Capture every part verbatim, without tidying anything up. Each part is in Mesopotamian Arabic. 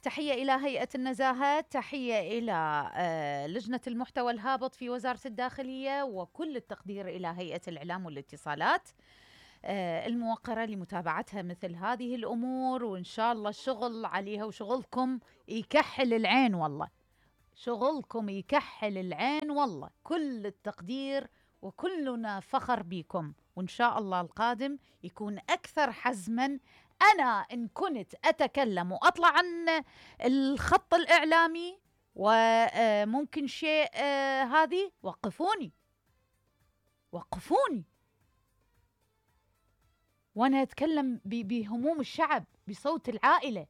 تحية إلى هيئة النزاهة، تحية إلى لجنة المحتوى الهابط في وزارة الداخلية، وكل التقدير إلى هيئة الإعلام والاتصالات الموقرة لمتابعتها مثل هذه الأمور، وإن شاء الله الشغل عليها وشغلكم يكحل العين، والله شغلكم يكحل العين، والله كل التقدير وكلنا فخر بكم، وإن شاء الله القادم يكون أكثر حزما. أنا إن كنت أتكلم وأطلع عن الخط الإعلامي وممكن شيء هذه، وقفوني وقفوني وأنا أتكلم بهموم الشعب، بصوت العائلة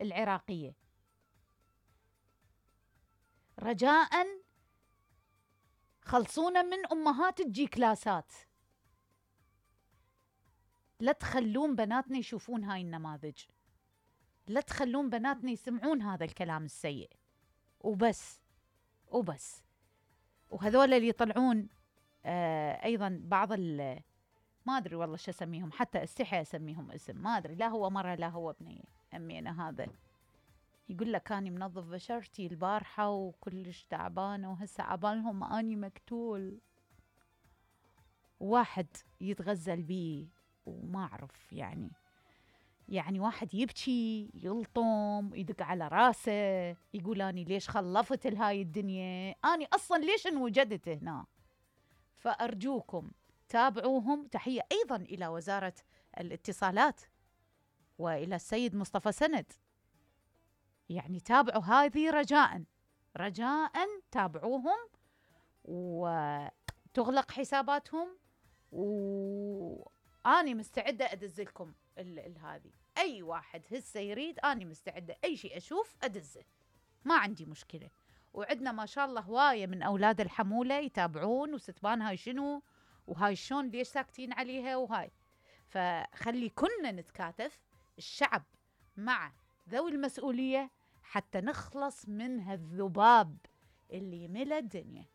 العراقية. رجاءً خلصونا من أمهات الجي كلاسات، لا تخلون بناتنا يشوفون هاي النماذج، لا تخلون بناتنا يسمعون هذا الكلام السيء، وبس وبس. وهذول اللي يطلعون آه أيضا بعض ال ما أدري والله شو أسميهم، حتى استحي أسميهم اسم، ما أدري، لا هو مرة لا هو ابني أمي أنا، هذا يقول لك أني منظف بشرتي البارحة وكلش تعبانة وهسه عبالهم أني مقتول، واحد يتغزل بيه وما أعرف يعني يعني واحد يبكي يلطم يدق على راسه يقول أني ليش خلفت لهاي الدنيا، أني أصلا ليش انوجدت هنا. فأرجوكم تابعوهم. تحية أيضا إلى وزارة الاتصالات وإلى السيد مصطفى سند، يعني تابعوا هذه رجاء رجاء تابعوهم وتغلق حساباتهم، وأني مستعدة أدزلكم هذه. أي واحد هسه يريد أني مستعدة أي شيء أشوف أدزه، ما عندي مشكلة. وعندنا ما شاء الله هواية من أولاد الحمولة يتابعون وستبان هاي شنو وهاي شون ليش ساكتين عليها وهاي. فخلي كنا نتكاتف الشعب مع ذوي المسؤولية حتى نخلص من هالذباب اللي ملا الدنيا.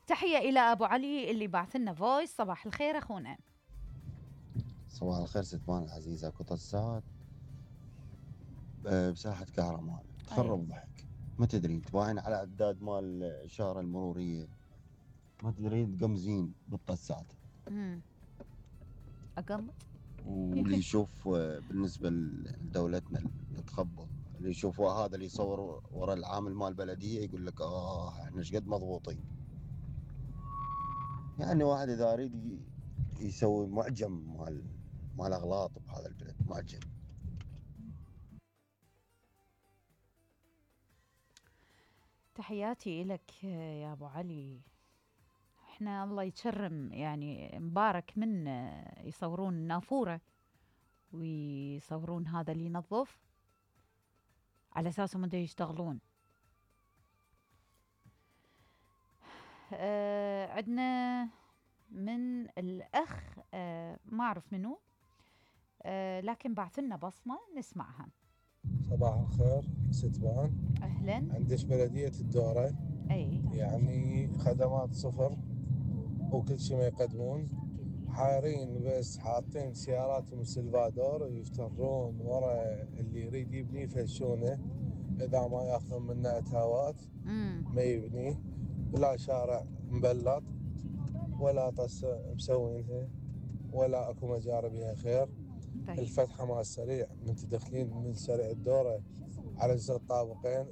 تحية إلى أبو علي اللي بعث لنا فويس. صباح الخير أخونا. صباح الخير ستبان العزيزة. كنت الساعات بساحة كهرمان تخرب ضحك، ما تدري تباين على عداد مال الإشارة المرورية، ما تدري تقمزين بالطسات. امم أقمت. واللي يشوف بالنسبة لدولتنا اللي تخبط، اللي يشوف هذا اللي يصور ورا العامل مال البلدية يقول لك آه احنا ايش قد مضبوطين. يعني واحد إذا يريد يسوي معجم مال مال أغلاط بهذا البلد، معجم. تحياتي لك يا أبو علي. احنا الله يتشرم يعني مبارك من يصورون النافورة ويصورون هذا اللي ينظف على أساسهم انتوا يشتغلون. اه عندنا من الأخ اه ما أعرف منه اه لكن بعثلنا بصمة نسمعها. صباح الخير ستبان. أهلا. عندش بلدية الدورة أي يعني خدمات صفر وكل شيء ما يقدمون، حارين بس حاطين سياراتهم سلفادور ويفترون ورا اللي يريد يبني يفشونه، إذا ما ياخذون منه أتاوات ما يبنيه، ولا شارع مبلط ولا طس مسوينها ولا أكو مجاري بها خير. طيب. الفتحة مال سريع من تدخلين من سريع الدورة على جسر الطابقين